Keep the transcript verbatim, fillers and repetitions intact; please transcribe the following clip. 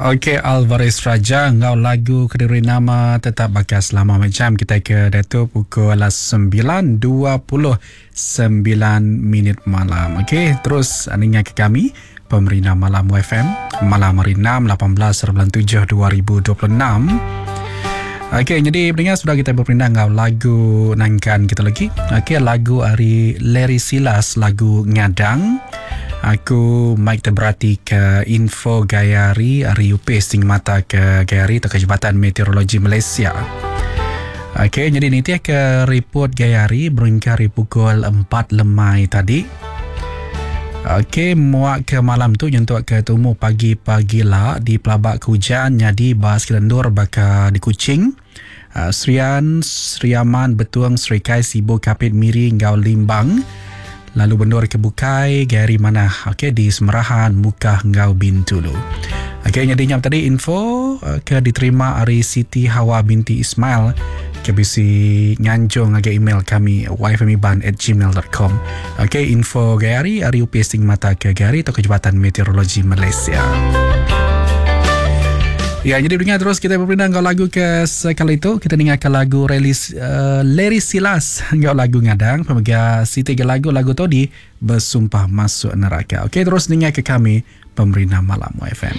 Okey, Alvarez Raja enggau lagu kediri nama Tetap Baka Selama. Macam kita ke datu pukul sembilan dua puluh sembilan minit malam. Okey, terus ninga ke kami Pemerintah Malam F M malam hari enam lapan belas bulan tujuh dua ribu dua puluh enam. Okey, jadi pendengar sudah kita berperindang enggau lagu nangkan kita lagi. Okey, lagu hari Larry Silas, lagu Ngadang. Aku Mike terberati ke info gaya hari hari U P S sing mata ke gaya hari atau ke Jabatan Meteorologi Malaysia. Okey, jadi ni dia ke report gaya hari berengkari pukul empat lemai tadi. Okey, muak ke malam tu nyentuk ke tumu pagi-pagi lah di pelabak hujan jadi bas kelendur baka di Kuching, uh, Serian, Seriaman, Betuang, Serikai, Sibu, Kapit, Miri, Ngau Limbang. Lalu bendur ke Bukai, Gary mana? Okey, di Semerahan, Mukah, Ngau Bintulu. Okey, jadi nyam tadi info ke diterima hari Siti Hawa binti Ismail ke bisi nganjung agak email kami y f m iban at gmail dot com. Okey, info Gary hari U P S mata ke Gary atau ke Jabatan Meteorologi Malaysia. Ya, jadi dengar terus kita berpindah ke lagu ke sekali itu. Kita dengarkan lagu rilis uh, Larry Silas enggau lagu Ngadang. Pemegang Siti ke lagu lagu tu di Bersumpah Masuk Neraka. Okey, terus dengar ke kami Pemerintah Malam Y F M.